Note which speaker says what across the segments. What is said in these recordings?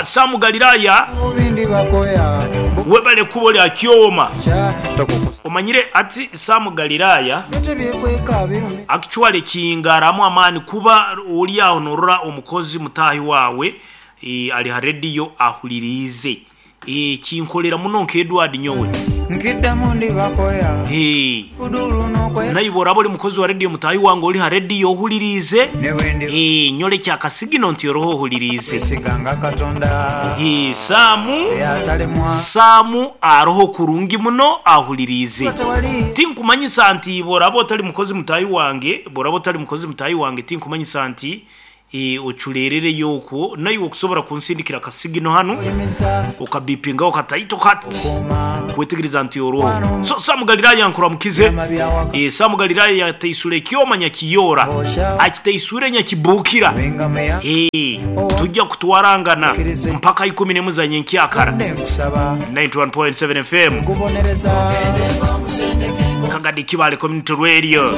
Speaker 1: Sam Galilaya webale kuba oli akyoma. Omanyire ati Sam Galilaya actually kingaramu amaani kuba oli aho norora omukozi mutaahi waawe ali ha radio ahuliriize. Eeh kinkolera muno nka Edward nyowe.
Speaker 2: Nkiddamu ndibakoya
Speaker 1: Eeh
Speaker 2: kudulu n'okwe.
Speaker 1: Naiwe bworaba oli mukozi wa radio mutaahi wange oli ha radio ohuliriize,
Speaker 2: Ne bwe ndiba.
Speaker 1: eeh nyolekye akasigino nti oroho ohuliriize.
Speaker 2: Kwesiganga Katonda.
Speaker 1: Eeh Saamu,
Speaker 2: Eyatalemwa.
Speaker 1: Saamu aroho kurungi muno ahuliriize.
Speaker 2: Tewali.
Speaker 1: Tinkumanyisa nti bworaba otali mukozi mutaahi wange, bworaba otali mukozi mutaahi wange tinkumanyisa nti Oculeerereyo okwo naiwe okusobora kunsindikira akasigino hanu okabipingaho kataito kati kwetegereza nti oroho. So Sam Galilaya nkuramukize. Sam Galilaya yateisura ekyoma nyakiyoora akiteiswire nyakibuukira. Tujja kutwarangana mpaka ikumi nemu za nyenkyakara. 91.7 FM Kagadi Kibale Community Radio.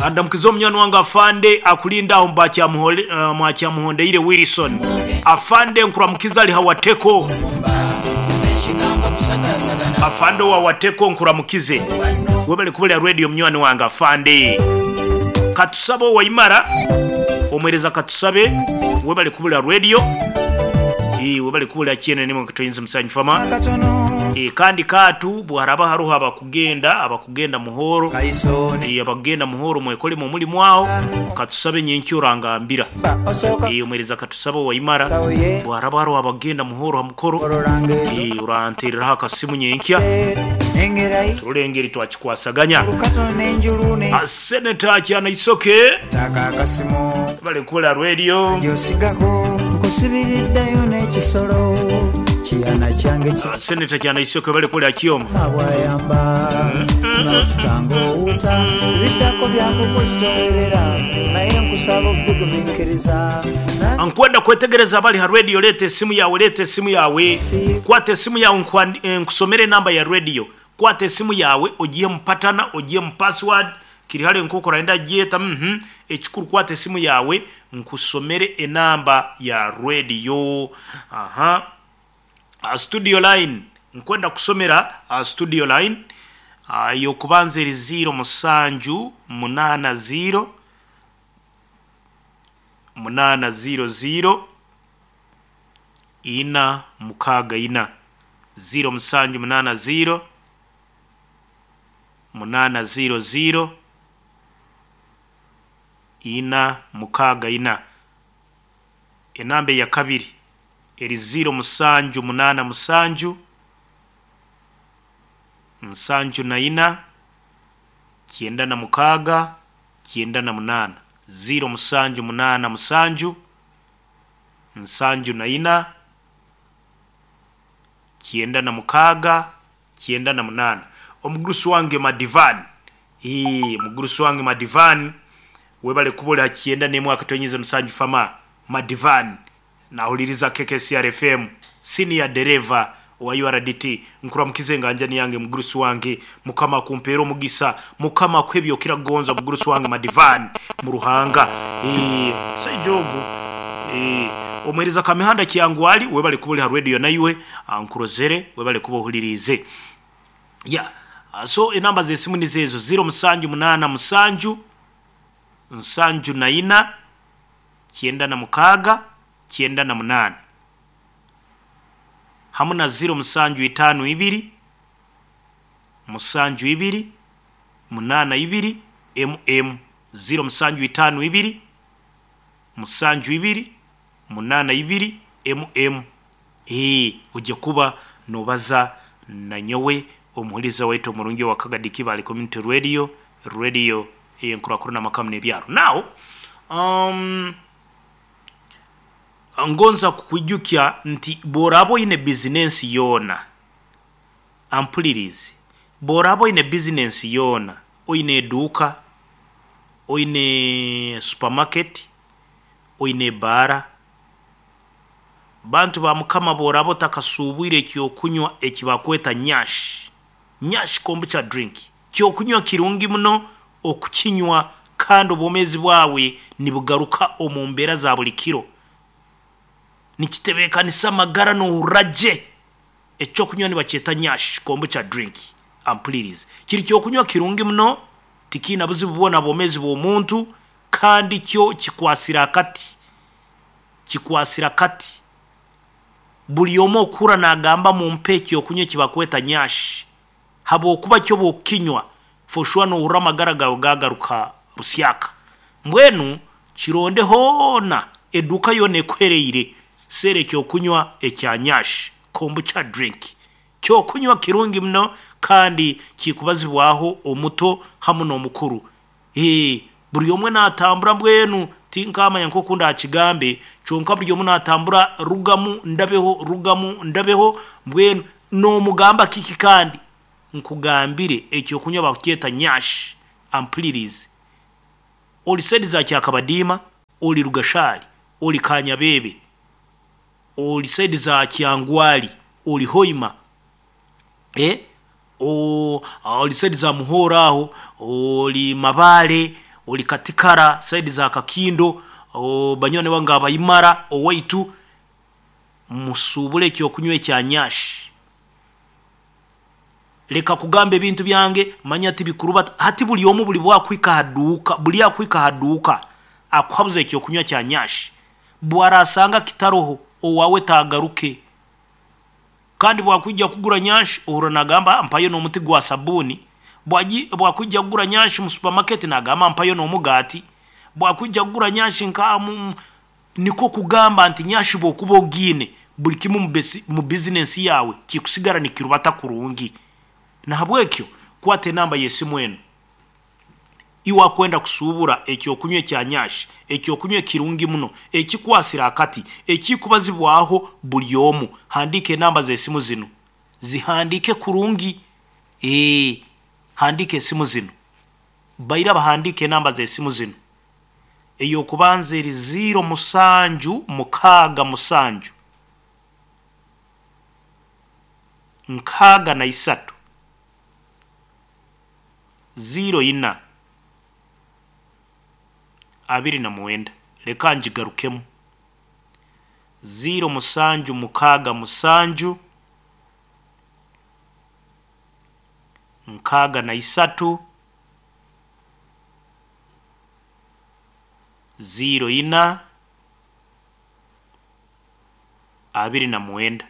Speaker 1: Andamukize omunywani wange Afande akulinda aho Mwakyamuhondeire Wilson. Afande nkuramukize ali ha Wateko. Afande owa Wateko nkuramukize. Webale kubulira radio munywani wange Afande. Katusabe owa Imara, omwereza Katusabe webale kubulira radio. Webale kubulira kyene nimwe katoyinza musanyu fama. Kandi katu bwaraba haroho abakugenda abakugenda muhoro abakugenda muhoro mwekolemu omulimu agho katusabe nyenkya orangambira. Omwereza Katusabe owa Imara bwaraba haroho abakugenda muhoro ha mukoro orantereraho akasimu nyenkya turole engeri twakikwasaganya. Senator Kyanaisoke bali kubula radio. Senator Kyanaisoke bali kubula kyoma. Nkwenda kwetegereza abali ha radio leeta esimu yawe leeta esimu yawe kwata esimu yawe nkusomere enamba ya radio kwata esimu yawe ogihe mu patana ogihe mu password kiri hare nk'oku orayenda kugyeta uhmm ekikuru kwata esimu yawe nkusomere enamba ya radio aha studio line nkwenda kusomera studio line ey'okubanza eri ziiro musanju munaana ziiro munaana ziiro ziiro ina mukaaga ina ziiro musanju munaana ziiro munaana ziiro ziiro ina mukaaga ina. Enamba eyakabiri eri ziiro musanju munaana musanju nsanju na ina kyenda na mukaaga kyenda na munaana ziiro musanju munaana musanju nsanju na ina kyenda na mukaaga kyenda na munaana. Omugurusi wange Madivan, ii omugurusi wange Madivan webale kuba ori ha kyenda n'emwe akatonyeza musanju fama Madivan nahuliriza KKCR FM senior dereva owa URDT nkuramukize enganjani yange mugurusi wange mukama akumpeere omugisa mukama akuhe ebyokira kugonza mugurusi wange Madivan mu Ruhanga ii omusaija ogu ii omwereza Kamihanda Kyangwali webale kuba ori ha radio naiwe nkurozere webale kuba ohuliriize. Yeah so enamba z'esimu nizo ezo ziiro musanju munaana musanju nsanju na ina kyenda na mukaaga kyenda na munaana hamu na ziiro musanju itaano ibiri musanju ibiri munaana ibiri emu emu ziiro musanju itaano ibiri musanju ibiri munaana ibiri emu emu Oija kuba nobaza nanyowe omuhuriza waitu omurungi owa Kagadi Kibale Community Radio, radio ey'enkurakurana amaka n'ebyaro. Now, um, ngonza kukwijukya nti bw'oraaba oine bizinensi yoona, ampuliriize, bw'oraaba oine bizinensi yoona, oine eduuka, oine supermarket, oine ebaara, Bantu ba Mukama bw'oraaba otakasuubwire eky'okunywa eki bakweta Nyash, Nyash Kombucha Drink, ky'okunywa kirungi muno okukinywa Kandi obwomeezi bwawe nibugaruka omu mbeera za buli kiro. Nikitebeekanisa amagara noohurra gye. Ekyokunywa nibakyeta Nyash Kombucha Drink. Ampulirize. Kiri kyokunywa kirungi muno, tikiine buzibu bwona aha bwomeezi bw'omuntu, kandi kyo kikwasire akati. Kikwasire akati. Buri omwe okuhurra naagamba mumpe ekyokunywa eki bakweta Nyash, habw'okuba kyo obu okukinywa, for sure noohurra amagara gaawe gaagaruka busyaka. Mbwenu kironde hoona, eduuka yoona ekuhereire, seera ekyokunywa ekya Nyash Kombucha Drink. Kyokunywa kirungi muno kandi kikubazibwaho omuto hamu n'omukuru. Ee, buri omwe naatambura mbwenu tinkaamanya nk'oku ndaakigambe, kyonka buri omwe naatambura rugamu ndabeho, rugamu ndabeho, mbwenu noomugamba kiki kandi? Nkugambire ekyokunywa bakukyeta Nyash, ampulirize. Ori saidi za Kyakabadiima, ori Rugashari, ori Kanyabeebe, ori saidi za Kyangwali, ori Hoima, eh, ori saidi za Muhoro aho, ori Mabale, ori Katikara, saidi za Kakindo, banywani bange Abaimara, owaitu, musuubure ekyokunywa ekya Nyash. Leka kugamba ebintu byange, manya tibikurubata. Hati buri omwe buri bwakuhika aha duuka, buri akuhika aha duuka akuhabuza ekyokunywa kya Nyash, bwarasanga kitaroho, owaawe taagaruke. Kandi bwakwija kugura Nyash, ohurra naagamba mpayo n'omuti gwa sabuuni. Bwakwija kugura Nyash mu supermarket naagamba mpayo n'omugaati. Bwakwija kugura Nyash nka nikwo kugamba nti Nyash bw'okuba ogiine, buri kimwe mu bizinensi yaawe kikusigara nikirubata kurungi. Nahabwekyo kwata enamba y'esimu enu. Iwe akwenda kusuubura ekyokunywa ekya Nyash, ekyokunywa ekirungi muno, ekikwasire akati, ekikubazibwaho buri omu, handiika enamba z'esimu zinu. Zihandiike kurungi. Ee, handiika esimu zinu. Baira bahandiike enamba z'esimu zinu. Ey'okubanza eri ziiro musanju mukaaga musanju, 63, 04, 29. Leka ngigarukemu. 0767 63 04 29.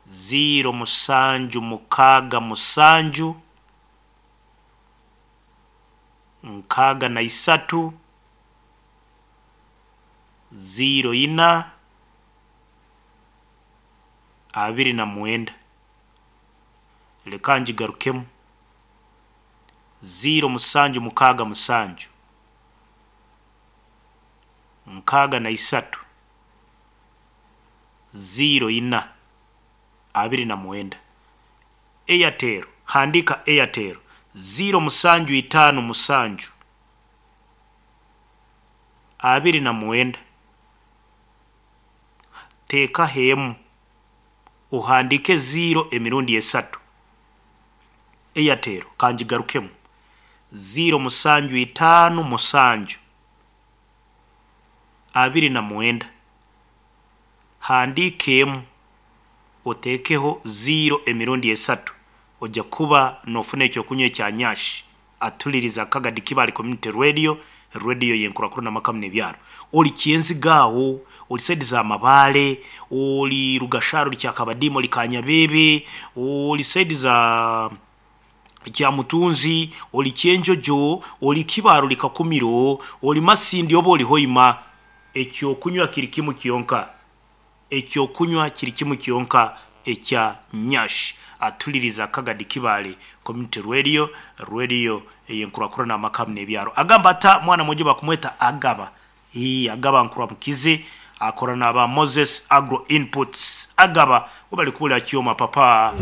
Speaker 1: 0767 63 04 29. Leka ngigarukemu. 0767 63 04 29. Airtel, handiika Airtel 0757 29, teekaho emu, ohandiike ziiro emirundi esatu. Airtel kangigarukemu. 0757 29, handiika emu, oteekeho ziiro emirundi esatu, ojja kuba noofuna ekyokunywa ekya Nyash. Atuliriza Kagadi Kibale Community Radio, radio y'enkurakurana amaka n'ebyaro. Ori Kyenziga aho, ori saidi za Mabale, ori Rugashara, ori Kyakabadiima, ori Kanyabeebe, ori saidi za Kyamutunzi, ori Kyenjojo, ori Kibaaro, ori Kakumiro, ori Masindi oba ori Hoima. Ekyokunywa kiri kimu kyonka. Ekyokunywa kiri kimu kyonka ekya Nyash. Atuliriza Kagadi Kibale Community Radio, radio ey'enkurakurana amaka n'ebyaro. Agamba ata mwana mwojo bakumweta Agaba. Ii, Agaba nkuramukize akora n'aba Moses Agro Inputs. Agaba webali kubulira kyoma papa.